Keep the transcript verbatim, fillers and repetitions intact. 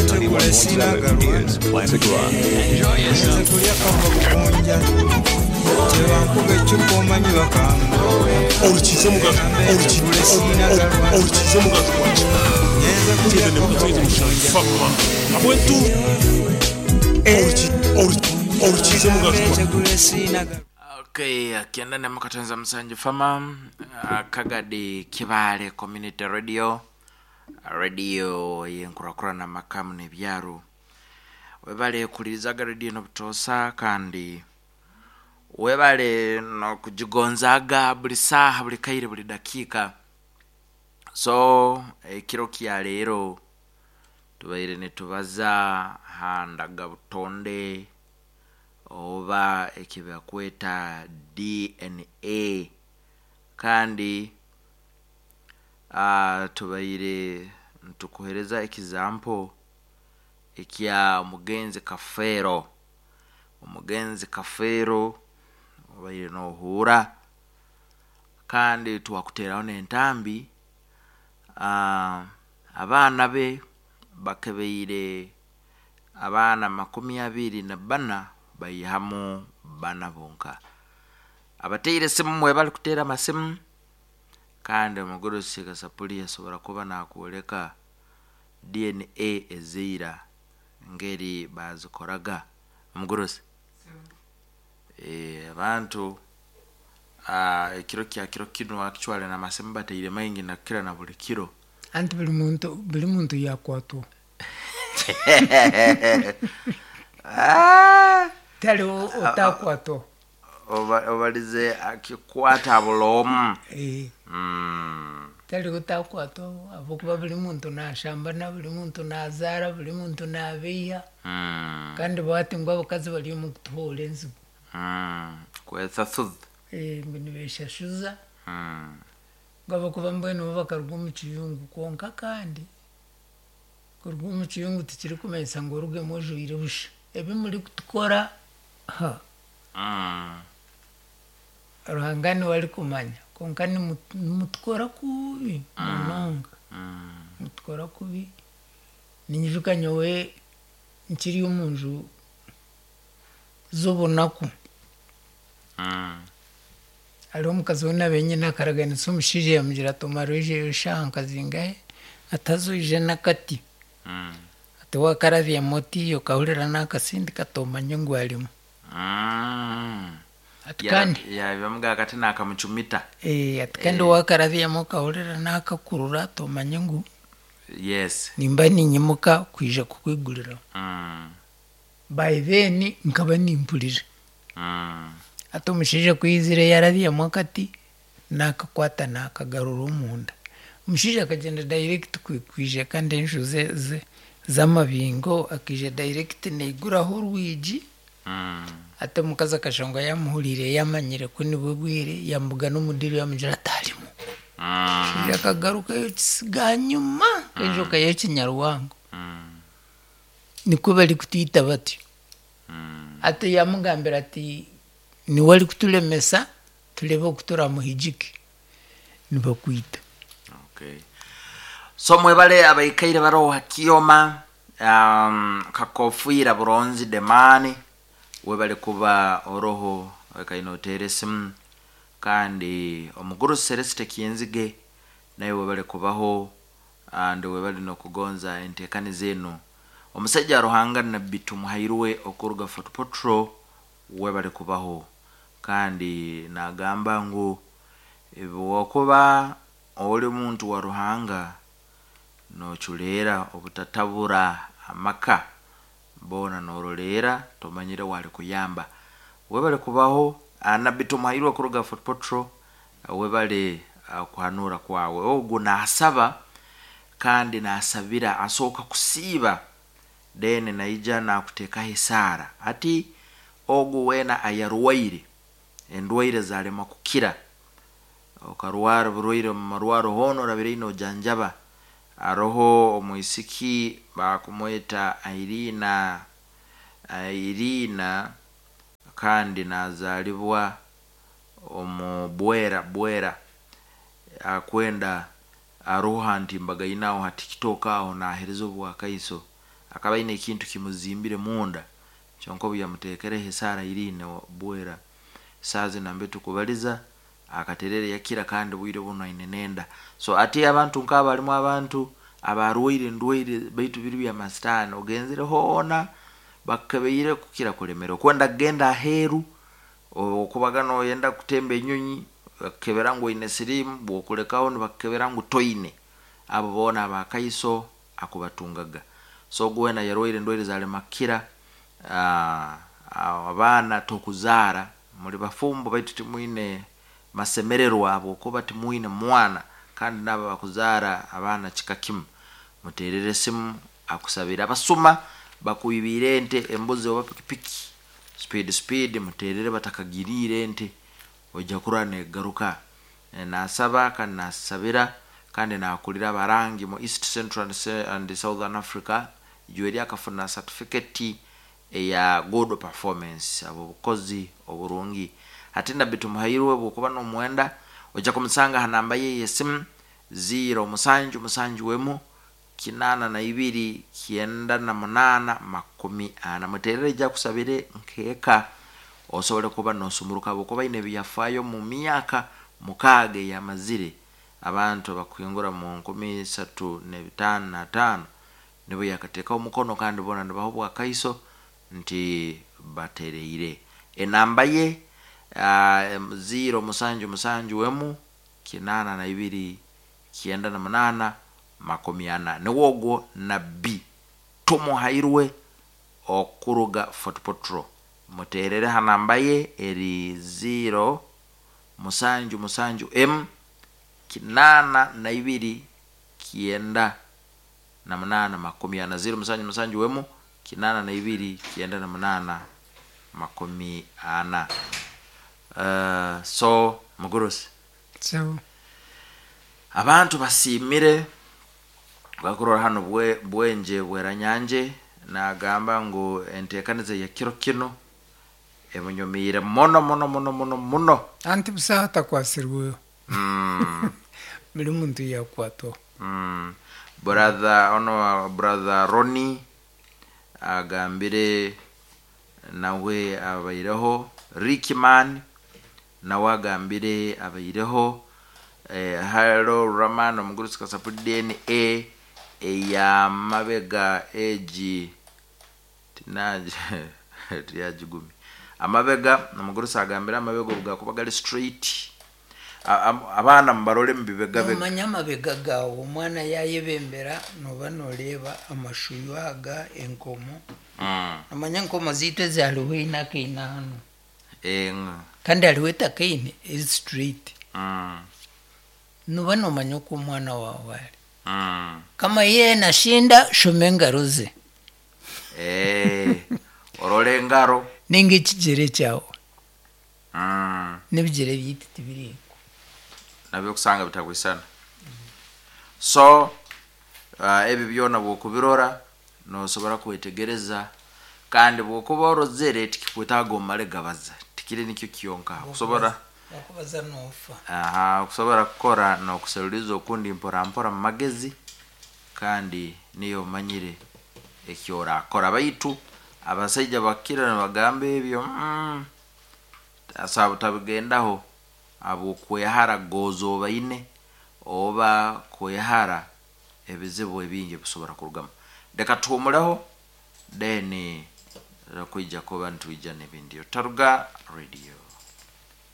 ninety-one point seven is Classic Rock. Okay, akienda na makatanza Musanju Fama, Kagadi Kibale Community Radio, radio yenkurakurana makamu n'ebyaro. Webale kulirizaga radio n'obutosa kandi webale nokugigonzaga buli saaha, buli kaire, buli dakiika. So ekiro kya leero tubaire nitubaza handaga butonde oba ekibakweta D N A, kandi uh, tubaire ntukuhereza example ekya mugenzi Kafeero. Omugenzi Kafeero obaire nohura kandi twakuteraho n'entambi. Uh, abaana be bakebeire abaana makumi abiri na bana baihamu bana bonka. Abateire simu mwe bali kutera amasimu, kandi omugurusi Kasapuli asobora kuba nakwoleka D N A ezeira ngeri bazikoraga. Omugurusi eh abantu ah ekiro kya kiro kino actually na masimu bateire maingi na kira na buli kiro anti buli muntu buli muntu yakwatwa ah tali otakwatwa oba obalize akikwata bulomu eh mm tali otakwatwa abokuba buli muntu nashamba na buli muntu nazara buli muntu nabiya mm kandi bati ngo abakazi bali mu kutuhora enzigu mm kwetha thud eh nibeshashuza mm ngo abakuba mbwenu bakaruga omu kiyungu kwonka kandi kuruga omu kiyungu tikiri kumanyisa ngu orugemu ojwaire busha ebi muri kutukora ha mm Ruhanga niwe arikumanya kwonka nimutukora kubi munonga mm mutukora kubi. Ninyijuka nyowe nkiri omu nju z'obunaku mm hariho omukazi we nabenyine akaraganisa omushaija yamugira ati omara oijeyo eshaaha nkazingahe atazoije n'akati mm ati wakarabyamu oti okahurira n'akasindi katomanye ngu arimu mm ati kandi yabimuga akati nakamucumita eh ati kandi wakarabyamu okahurira n'akakurura tomanye ngu yes nimba ninyimuka kwija kukwigurira mm by then nkaba nimpurira mm ati omushaija kwizire yarabyamu akati nakakwata nakagarura omunda. Omushaija akagenda direct kwija kandi enju ze ze z'amabingo akija direct neiguraho orwigi mm ati omukazi akashonga yamuhurire yamanyire ku nibwe bwire yambuga n'omudiri yamugira atarimu mm omushaija akagarukayo kisiga nyuma enjoka y'ekinyarwango mm nikwo bari kutwita batyo. mm Ati yamugambira ati niwe ari kuturemesa turebe oku turamuhigike nibakwita. Okay, so mwebale abaikaire baroha kioma um, kakofwira buronzi demani webale kuba oroho ekaino otere simu kandi omuguru Celeste Kienzige naye webale kubaho and webale nokugonza entekani zenu. Omusajja Ruhanga Nabbi Tumuhairwe okuruga Fort Portal webale kubaho kandi nagamba ngu wakuba oli muntu wa Ruhanga nochuleera obutatabura amaka bona norolera tomanyire wali kuyamba. Webale kubaho Nabbi Tumuhairwe kuruga Fort Portal webale uh, kuhanura kwawe. Ogu nasaba kandi nasabira asooka kusiiba then naija nakutekaho esaara ati ogu wena ayarwaire endwaire zalema kukira okarwara burwaire mu marwaro hono orabire nojanjaba. Aroho omwisiki bakumweta Irina Irina kandi nazalibwa omu Bwera Bwera akwenda aroho nti mbagainaho hati kitoka aho nahereza obwakaiso Akaba aine ekintu kimuzimbire munda, kyonka obu yamuteekereho esaara iriine bwera saaha zinu nambe tukubaliza akaterere yakira, kandi bwire buno aine nenda. So ati abantu nk'abo harimu abantu abarwaire endwaire baitu biri byamasitaani, ogenzire hoona bakukebeire kukira kulemera, okwenda kugenda aheeru, okubaga noyenda kutemba enyonyi bakukebera ngu oine siriimu, bwokulekaho nibakukebera ngu toine. Abo boona abakaiso akubatungaga. So ogu weena yarwaire endwaire zalema kukira, ah, abaana tokuzaara, muri bafumbo baitu timwine masemererwa habwokuba timwine mwana, kandi nabo bakuzaara abaana kika kimu. Muterere esimu akusabire. Abasuma bakwibiire ente, embuzi oba pikipiki, speed speed muterere batakagiriire ente, ojja kurora negaruka. E, nasaba kandi nasabira kandi nakulira abarangi mu East Central and, Se- and Southern Africa. Ijweri akafuna certificate eya good performance, abo obukozi oburungi. Ate nabbi Tumuhairwe bwokuba nomwenda ojja kumusanga ha namba ye yesimu ziro musanju musanju emu kinana na ibiri kyenda na munana makumi ana. Muterere ijja kusabire nkeeka osobole kuba nosumuruka, habwokuba aine ebyafaayo mu myaka mukaaga eyamazire abantu bakuhingura mu nkumi isatu n'ebitaano n'ataano nibo yakateekaho omukono, kandi boona nibaha obwakaiso nti batereire. Enamba ye uh, ziro musanju musanju emu kinana na ibiri kyenda na munana makumi ana. Niwe ogwo nabbi Tumuhairwe okuruga Fort Potro. Muterere ha namba ye eri ziro musanju musanju emu kinana na ibiri kyenda na munana makumi ana, ziro musanju musanju emu kinana na ibiri kyenda na munana makumi ana. Uh, so mugurusi, So abantu basiimire bakurora hano bwe, bwenje bweranyanje nagamba ngu enteekaniza ya kiro kino emunyumiire muno muno muno muno muno. Anti busaha atakwasirweho, mm, buri muntu yakwatwaho. mm. Brother ono, brother Roni agambire nawe abaireho, Rickman nawe agambire abaireho, eh, Haro Raman omugurusi kasapuli D N A eyamabega egi tinaje tiyagigumi amabega. Omugurusi agambire amabega obugakuba gali straight, A- am- abaana mubarole mubibegabega. Nomanya amabega gawe omwana yayebembera noba noreeba amashuyu aga enkomo. Mm. Nomanya enkomo ziitu ezihariho eine akaine hanu, Eng- kandi hariho etakaine eri straight. Mm. Noba nomanya oku omwana wawe ari. Mm. Kama iye nashinda, shoma engaro ze. Eh, orole engaro ninga ekigere kyawe. Mm. N'ebigere byaitu tibiriiko. Nabyo kusanga bitagwisana. So uh, ebi byona bwokubirora nosobora kwetegereza, kandi bwokuba orozere tikikwetaaga omale gabaza, tikiri nikyo kyonka kusobora okubaza nofa. Aha, kusobora kukora nokuseruliza okundi mpora mpora mu magezi, kandi niyo omanyire ekyorakora. Baitu abasaija bakira nibagamba ebyo mm, asa tabigendaho habwokwehara goza obaine oba kwehara ebizibu ebingi ebisobora kurugamu. Leka tuhumuleho, then kwija kuba nitwija n'ebindi. Otaruga radio.